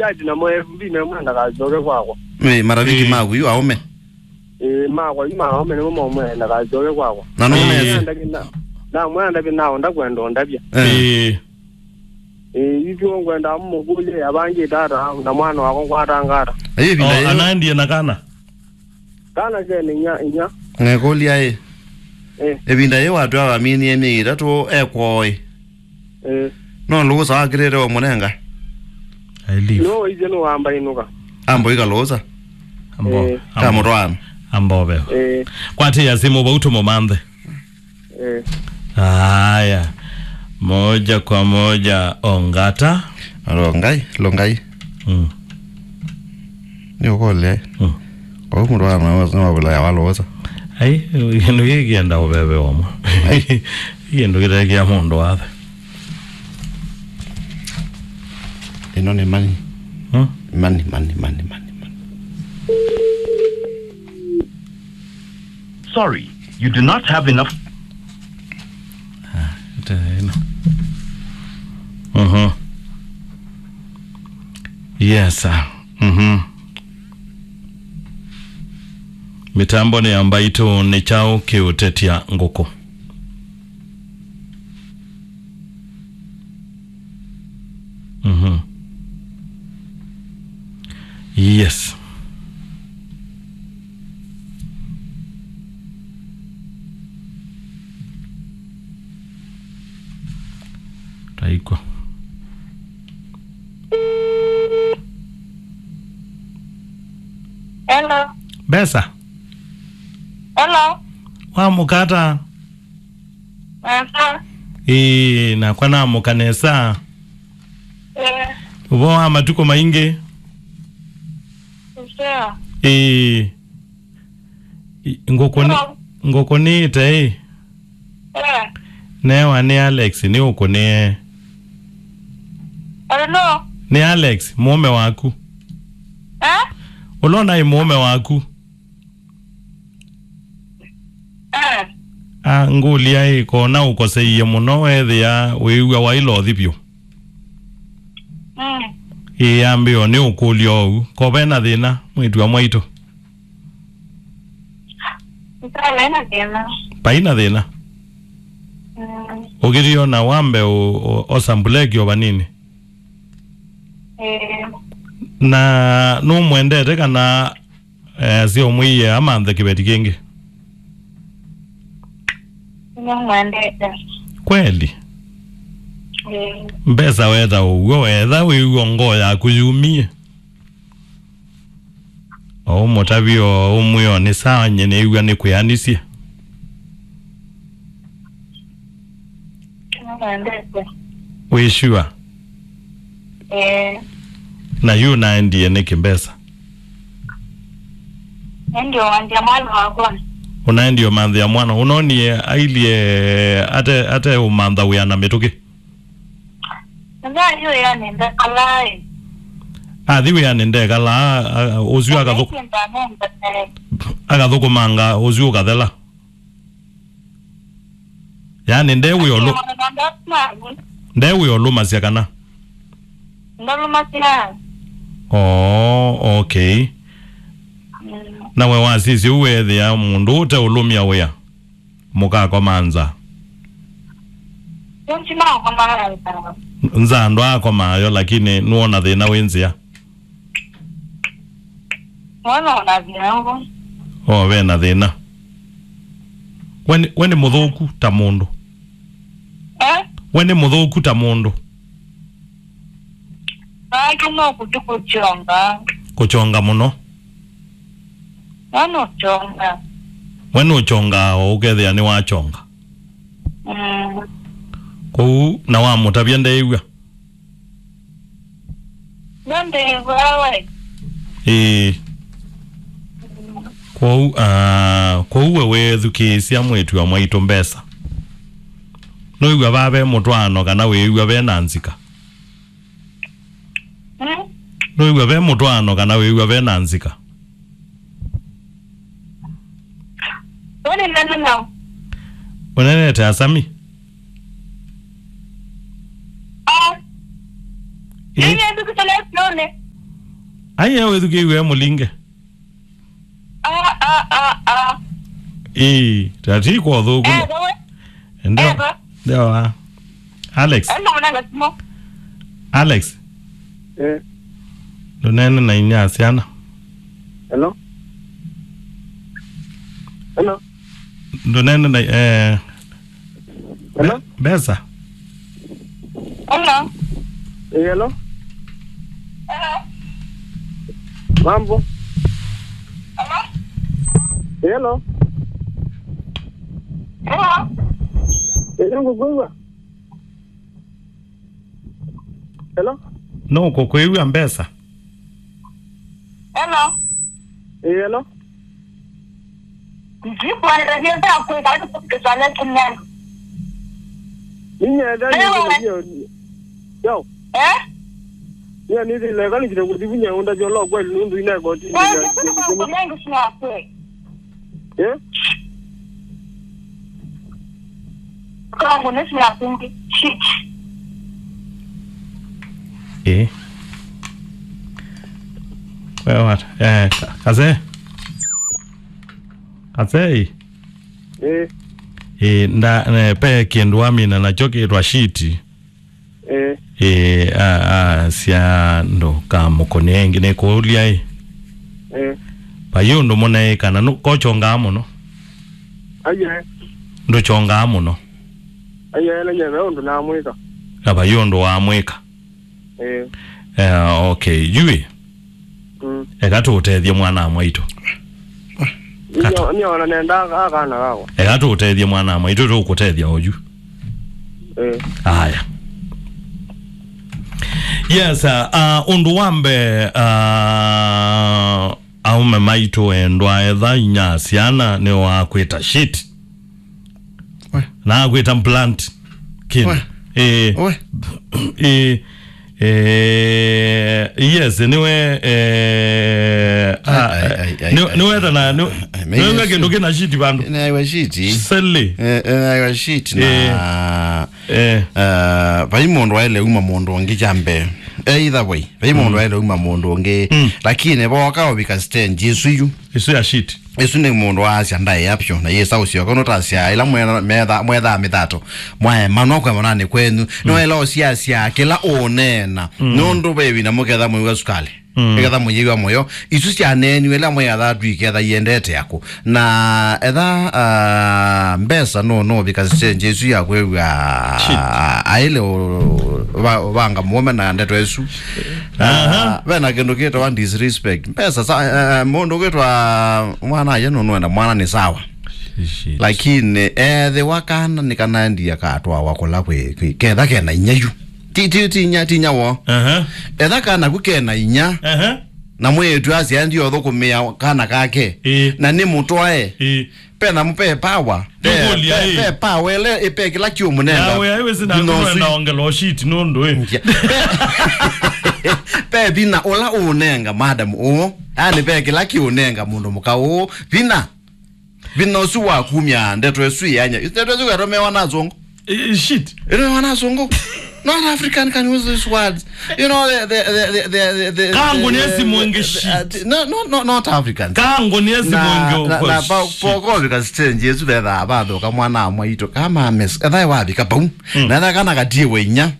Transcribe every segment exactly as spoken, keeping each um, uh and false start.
Kati na mwe F B, memwenda kasyoke kwakwa. Ĩ, marafiki Ĩ. maku yu aũme? Ĩ, makwa yu ma aũme nĩmo maũme ndakasyoke kwakwa. Na nũme Ĩ. Ndakĩ na, namwenda ndakĩ na ndakwenda ũndavya. Eh. Ĩ. Ĩ, ithuĩ ngwenda mũkũlye yavangĩte ata na mwana wakwa ngwatangata. Ayo ĩvinda O, ĩyo. Anandie na kana? Kana kene inya, inya. Ngekũlya ĩ. Ĩ. Ĩvinda yĩĩ watwaa waminie myei ĩtatũ ekwoo ĩ. Ĩ. No lũũsa wakĩlĩte ũmũnenga? I leave. No waisye nũwamba inũka. Ambo ika lũũsa. Ambo, Eh. Ambo. Kamũtwaano. Ambo veo. Eh. Kwatĩĩa simũ vau tũmũmanthe. Eh. Aya. Moja kwa moja Ongata. Longai, Longai. Mm. Nĩ ũkũlya. Mm. Kwa hiyo mũndũ wa mawe, sema vula ya walo wosa. Ai, kĩndũ gĩkĩ kĩenda ũveve wamo. Ai. Kĩndũ kĩtekĩa mũndũ wathe. Ĩno nĩ mani. Hmm? Mani, mani, mani, mani, mani. Sorry, you do not have enough. Ah, ĩte ĩno. Mhm. Yes, sir. Mhm. Mĩtambo nĩ ya mbaitũ, nĩ kyaũ kĩũtetya ngũkũ? Mhm. Yes. Taiko. Hello. Mbesa. Hello. Wamũka ata? Nesa. Ĩĩ, nakwa namũka nesa. Ĩĩ. Ũvoo wa matukũ maingĩ? Nesa. Ĩĩ. I-, ngũkũ nĩ, Hello. Ngũkũ nĩĩte ĩ? Ĩĩ. Newa nĩ Alex, nĩ ũkũnĩe. Hello. Nĩ Alex, mũũme waku. Eh? Ũla ũnaĩ mũũme waku. Eh. Ah, ngũlya ĩ, kona ũkoseie mũno, weethĩa wĩw'a waĩlothi vyũ? Mm. Ĩĩ, ambĩo nĩ ũkũlya oou. Ko ve na thĩna, mwĩĩtu wa mwaitũ? Nĩkala ena thĩna. Vai na thĩna? Mm. Ũkĩthiĩ ona wambe ũ-, ũ-, osambuleki o vanini? Ĩĩ. Na nũmwendete kana Eh, asya ũmwĩie amanthe kĩveti kĩngĩ. Nĩmwendete. Kweli? Ĩĩ. Mbesa weta ũw'o, etha wĩw'a ngoo yaku yumie. O ũmũtavye o ũmwĩo nĩ sawa, nyie nĩw'a nĩkwĩanisye. Nĩmwendete. Wĩ sure? Ĩĩ. Na yu ũnaendie nĩkĩ mbesa? Nĩendie ũmanthĩa mwana wakwa. Ũnaendie ũmanthĩa mwana? Ũnonie ailyĩ ate, ate ũmantha wĩa na mĩtũkĩ? Nza yu yani ndekalaĩ. Athi wĩanĩ ndekalaa, a, a, ũsu akathũ-, Nĩendie ndanenda. Akathũkũmanga ũsu ũkathela. Yaani, nde wĩ olu-, nde wĩ olumasya kana? Ndolumasya. Oh, okay. Mm. Na we wasisya ũu weethĩa mũndũ ũte ũlũmya wĩa, mũkakoma nza? Nza ndwaakomaa yo, lakini nũona thĩna wĩ nzĩa? Mwana ona thĩna ngũ. O, ve na thĩna. We nĩ, we nĩ mũthũku ta mũndũ. Eh? We nĩ mũthũku ta mũndũ. Nake no kũthi kũkyonga. Kũkyonga mũno. Mwana ũkyonga. We nũkyongaa o ũkethĩa nĩwakyonga. Mm. Kwoou na wamũtavya ndeĩw'a? Nĩndĩĩw'aa we. Ĩĩ. Kwoou, ah, kwoou we wĩthukĩĩsya mwĩĩtu wa mwaitũ mbesa. Nũĩw'a vaa ve mũtwaano kana wĩĩw'a ve na nzika? Hmm? Nũĩw'a ve mũtwaano kana wĩĩw'a ve na nzika? Ũnenene nao. Ũnenete Asami? Ah. Ĩ? Nĩnĩndũkĩte lesione. Ai, ewe thukĩiwe mũlinge. Ah, ah, ah, ah. Ĩĩ, tati kwa thũku. Eh, wewe. Ndio. Eh, ba. Ndio. Alex. Enda mwananga simo. Alex. Eh. Ndũneene na inyia syana. Hello? Hello? Ndũneene na, eh, hello? Mbesa. Hello? Eh, hello? Hello? Mambo? Hello? Eh, hello? Hello? Eh, ngũkwĩw'a? Hello? No kũkwĩw'a Mbesa. Hello. Eh, hello. Ndikuelezea kwenda kukisalia kimya. Ninyenda. Hello. Yo. Eh? Yo, nithile kalikile kuthivunya unda jolo kweli nundu ina koti. Wewe, sasa kwa mengi sina kweli. Eh? Kama kuna sina kweli. Shit. Eh. Wewe what? Eh, ka-, kaze. Kaze. Eh. Eh, nda, ne, pe kĩndũ amina nakyo kĩtwa shiti. Eh. Eh, a, a, sya ndo ka mũkũnĩ ĩngĩ nĩ kũũlya ĩ. Eh. Vai ũndũ mũnaĩ kana nũ-, kochongaa mũno? Aye. Ndũchongaa mũno? Aye, na nyeve ũndũ namwĩka. Na vai ũndũ wamwĩka? Eh. Eh, okay. Yui. Mm. Eka tũũtethye mwana mwaitũ. Nyo-, niona nenda akana kakwa. Eka tũũtethye mwana mwaitũ, tũkũtethya oyu. Eh. Aya. Yes, uh, uh, ũndũ wa mbee, uh, aume maitũ endwa, etha inya syana nĩ wakwĩta shit. We. Na akwĩta plant kin. We. Eh. We. Eh. Eh, yes, niwe, eh, ai, ah, ai, ai, ai, niwe, ai, niwe ai, tana, niwe, ai, ai, niwe ai, kĩndũ kĩna shit vandũ. Naiwa shit. Sele. Eh, eh, naiwa shit na, eh, eh, vai mũndũ waĩle uma mũndũ ũngĩ kya mbee. Either way, vai mũndũ, mm, waĩle uma mũndũ ũngĩ. Mm. Lakini voka ũvika stage ĩsu yu. Ĩsu ya shit. Ĩsu nĩ mũndũ waasya ndaĩa vyũ, na yĩsa ũsyoka, ũnũtasya ĩla mwetha-, metha-, mwethaa mĩthato, mwaemanwa kwemananĩ kwenyu, mm, nĩwaĩla ũsiasya kĩla ũũneena, mm, nũndũ ve ĩvinda mũketha mũiwa sukalĩ, mm, ĩketha mũyĩw'a mũyo, isu syaneeniwe ĩla mwĩathaa twiketha iendete akũ. Na etha, ah, mbesa nũ-, nũvika stage ĩsu ya kwĩw'a, shit, aĩle ũ-, va-, vanga mũũme na ndeto ĩsu. Aha. Ah, ve na kĩndũ kĩtawa disrespect. Mbesa sa, eh, mũndũ ũkĩtwa mwana aye nũnũenda mwana nĩ sawa. Shit. Lakini ethĩwa kana nĩ kanaendie katwawa kũla kwĩ, kwĩ, ketha kena inya yu. Ti, ti, ti inya, ti inya wo. Aha. Etha kana ku kena inya. Aha. Na mwĩĩtu asya ndio thũkũmĩa kana kake. Ĩĩ. Na nĩ mũtwae. Ĩĩ. Pe na mũpe power. Pe, ndũkũlya, pe, ĩ, pe power ĩla ĩpe kĩla kĩũmũnenga. Nawe aiwe sina thĩna ũsu. Kwenda ongela shit nũndũ, ĩ. Ndia. Pe, pe thĩna ũla ũũnenga madam ũũ. Yaani pe kĩla kĩũnenga mũndũ mũka ũũ. Thĩna. Thĩna ũsu wa kumya ndeto ĩsu yanya. Ndeto ĩsu yatomewa na azungu. Eh, shit. Ĩno wana azungu. Not African can use these words. You know, the, the, the, the, the, the, Kangu the, nesi the, mwenge the, shit. Uh, no, no, no, not Africans. Kangu nesi mwenge na, na, uko na pa, shit. Poko vika stage ĩsu vetha avathoka mwana amwaito kama ames. Etha wathi kapau. Mm. Na etha kana katie wenya.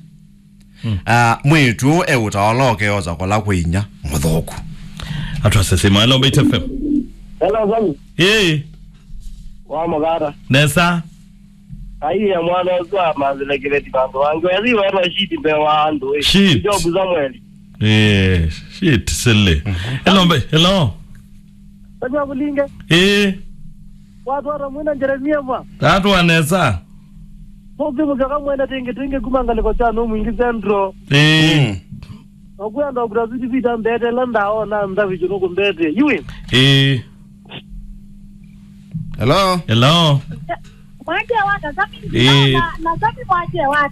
Mm. Ah, mwitu eutaoloke oza kola kwinya muthoku. Atwa sesema. Hello, Mbaitu F M. Hello, Sami. Hey. Wa mugara. Nesa. Aiye, mwana ũsu amanzile kĩveti vandũ vangĩ. Wethi wetwa shit mbee wa andũ, ĩ. Shit. Job Samuel. Eh, shit, silly. Mhm. Hello, mbe-, hello. Wetwa Bulinge. Eh. Watwara mwina Jeremia mwa. Tatwa nesa. Mũkĩ mũkyoka mwene tingi tingi kuma ngaliko cha no mwingi Central. Eh. Mm. Okwenda okura ziti vita mbete la ndaona ndavi chino kumbete. Iwe. Eh. Hello? Hello? Mwache wata, Sami, eh, na, na Sami mwache wata.